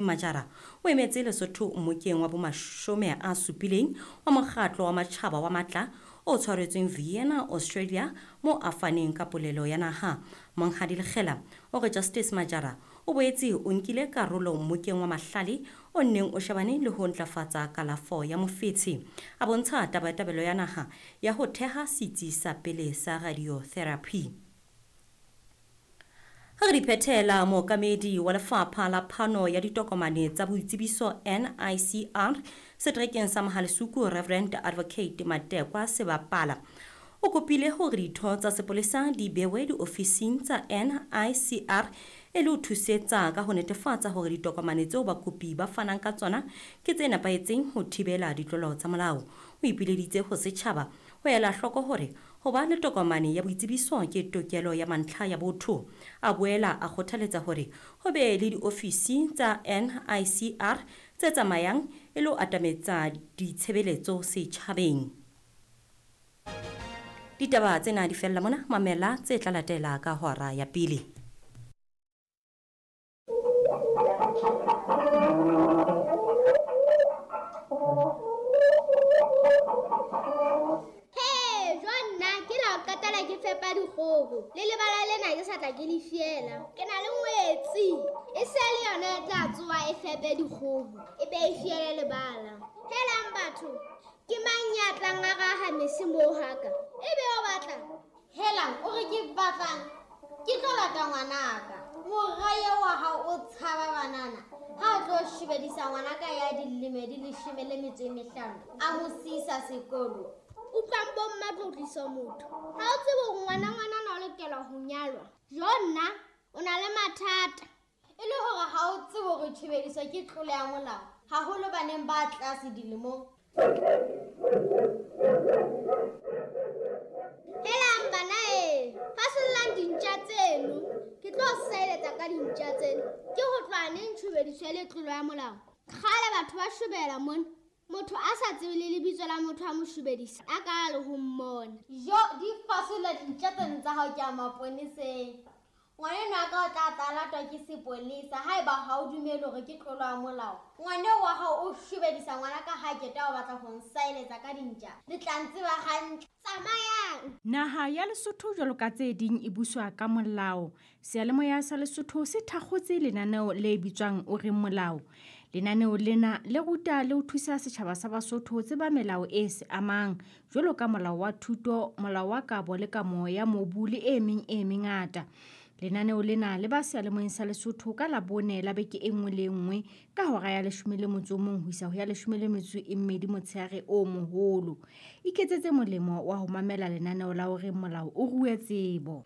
Majara o emetse Lesotho mmokeng wa bomashome a supileng wa Mokgatlo wa Matjhaba wa Matla o tshwaretsweng Vienna, Australia moo a faneng ka polelo ya naha. Monghadi Lekgela o re Justice Majara o boetse o nkile karolo mmokeng wa mahlale o nneng o shebane le ho ntlafatsa kalafo ya mofetshe. A bontsha tabatabelo ya naha ya ho theha setsi sa pele sa radiotherapy. Ha re di phethela, mookamedi wa lefapha la phano ya ditokomane tsa boitsebiso NICR seterekeng sa Mohalesuku Reverend Advocate Matekwa Sebapala o kopile hore ditho tsa sepolesa di bewe diofising tsa NICR e le ho thusetsa ka ho netefatsa hore ditokomane tseo bakopi ba fanang ka tsona ke tse nepahetseng ho thibela ditlolo tsa molao. O ipileditse ho setjhaba ho ela hloko hore ho ba le tokomane ya boitsebiso ke tokelo ya mantlha ya botho. A boela a kgothaletsa hore ho be le diofisi tsa NICR tse tsamayang e le ho atametsa ditshebeletso setjhabeng. Ditaba tsena di fella mona, mamela tse tla latela ka hora ya pele. Ke fepa dikgoho le lebala lena ke sa tla ke le fiela. Ke na le ngwetsi e se le yona e tla tsoha e fepe dikgoho e be e fiele lebala. Helang batho, ke mang ya tlang a raha mese moo haka? E be o batla? Helang, o re ke batlang? Ke tlo lata ngwanaka. Mora eo wa hao o tshaba banana. Ha o tlo shebedisa ngwanaka ya dilemo di 15, a mo siisa sekolo. Utlwang bo mma tlotlisa motho. Ha o tsebe hore ngwana ngwanana o lokela ho nyalwa. Jo nna, o na le mathata. E le hore ha o tsebe hore tshebediso ke tlolo ya molao, haholo baneng ba tlase dilemong. Helang bana e, fasollang dintja tseno. Ke tlo seletsa ka dintja tseno. Ke ho tloha neng tshebediso e le tlolo ya molao? Kgale batho ba shobela mona. Motho a sa tsebe le lebitso la motho a mo shobedisa, a ka le ho mmona. Jo, di fasolla dintja tseno tsa hao ke a maponeseng. Ngwaneno a ka o tla tla latwa ke sepolesa haeba ha o dumele hore ke tlolo ya molao. Ngwaneo wa hao o shobedisa ngwana ka ha keta o batla ho nsaeletsa ka dintja. Le tla ntseba hantle. Tsamayang. Naha ya Lesotho jwalo ka tse ding e buswa ka molao. Seyalemoya sa Lesotho se thakgotse lenaneo le bitswang O Reng Molao. Lenaneo lena le ruta le ho thusa setjhaba sa Basotho ho tseba melao e se amang jwalo ka molao wa thuto, molao wa kabo le kamo ya mobu le e meng e mengata. Lenaneo lena le ba seyalemoyeng sa Lesotho ka Labone la beke e nngwe le e nngwe ka hora ya 11 ho isa ho ya 12 motshehare o moholo. Iketsetse molemo wa ho mamela lenaneo la O Reng Molao o rue tsebo.